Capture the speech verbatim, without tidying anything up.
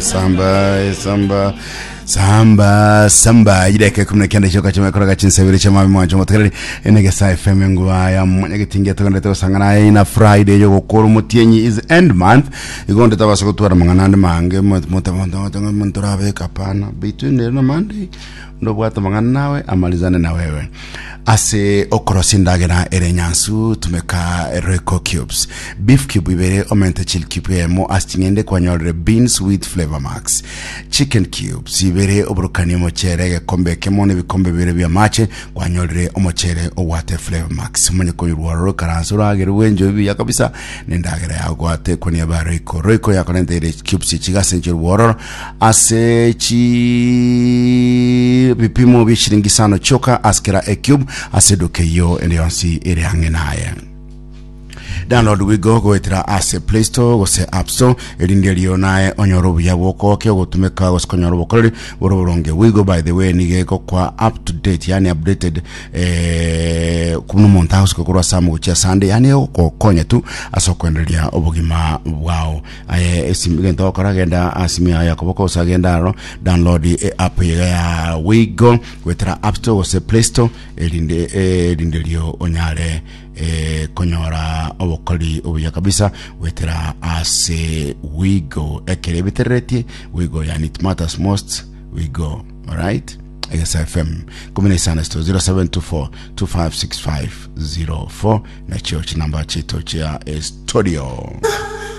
Samba, samba, samba, samba. Ideka kumi na kenda choka chama kora chinsebere chama mwancho motegereri enegesa F M nguva ya mwanyagetingia tugende tugosangana ina Friday yo gokora mutienyi is end month, igo ndeta basa gotwara mang'ana ande mange mutorabeka pana between lero na Monday, ndobwata mang'ana nawe amalizane na wewe. Ase okorosia endagera ere nyansu, tumeka Royco cubes: beef cube ibere, omente chili cube emo ase ching'ende, kwanyorire beans with Flavor Max; chicken cubes ibere, oborokani omochere egekombe ekemo na ebikombe bibere bia amache, kwanyorire omochere obwate Flavor Max. Omonye konyurwa ororo karanso oragere bwenjo buya kabisa nendagera yago gwate konia ba Royco. Royco yakorenteire cubes chigase nchirwa ororo ase chi bipimo bia shilingi isano chioka ase kera ecube ase eduka eyo ende yonsi ere ang'e naye. Download Wigo goetera ase Play Store gose App Store, erinde erio naye onyore obuya bwokoke ogotumeka gose konyora obokoreri bore oboronge. Wigo, by the way, nigo egokwa up to date, yani updated, eh, kubuna omonto agosika korwa ase amo gochia asande, yani egokokonya tu ase okwendereria obogima bwao. Aye esimu gento ogokora, genda ase simu yago yakoboko gose agenda aro download e app iga ya Wigo goetera App Store gose Play Store, erinde erinde rio onyare eh, konyora obokori obuya kabisa gwetera ase Wigo. Ekere ebitereretie Wigo, yani it matters most, Wigo. Alright, Egesa F M kumi na isano sito zero seven two four two five six five zero four nachio chinamba chito chia studio.